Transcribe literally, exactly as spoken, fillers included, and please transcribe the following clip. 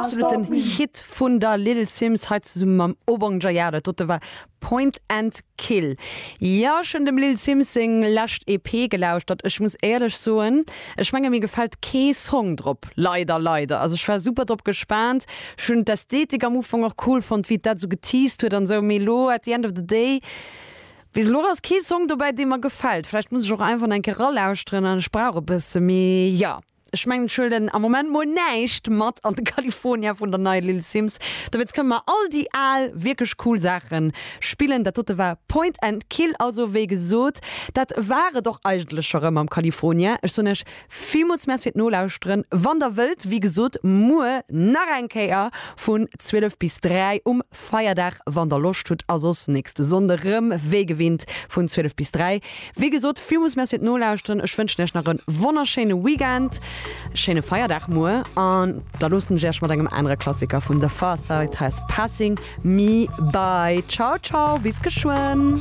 Absoluten Hit vun der Little Simz hei zesumme mam Obongjayar, dat dote war Point and Kill. Jo, ech hunn dem Lil Simz seng lescht EP gelauschtert. Ech muss éierlech soen, ech menge mir gefält kee Song drop, leider leider. Also ech war super drop gespaant, ech hunn d'Ästhetik am Ufank och cool fonnt, wéi dat sou geteased huet an sou, mee lo at the end of the day, bis elo ass kee Song dobäi, dee mer gefält. Vläicht muss ech och einfach nach eng Kéier ralauschteren an ech brauch e bësse méi, jo. Ech mengen ech huelen am Moment mol näischt mat an de California vun der neier Lil Simz. Dowéinst kënne mer all déi al wierklech cool Saache spillen. Dat dote war Point and Kill, also wéi gesot, dat war et och eigentlech scho rëm am California. Ech soen iech villmools Merci fir d'Nolauschteren. Wann der wëllt, wéi gesot, muer nach eng Kéier vun zwielef bis dräi um Feierdag, wann der Loscht hutt, a soss nächste Sonnde rëm wéi gewinnt vun zwielef bis dräi. Wéi gesot, villmools Merci fir d'Nolauschteren. Ech wënschen iech nach e wonnerschéine Weekend, schéine Feierdag muer an da loossen ech iech mat engem anere Klassiker vun The Pharcyde, heiass Passing Me By. Ciao ciao, bis geschwënn.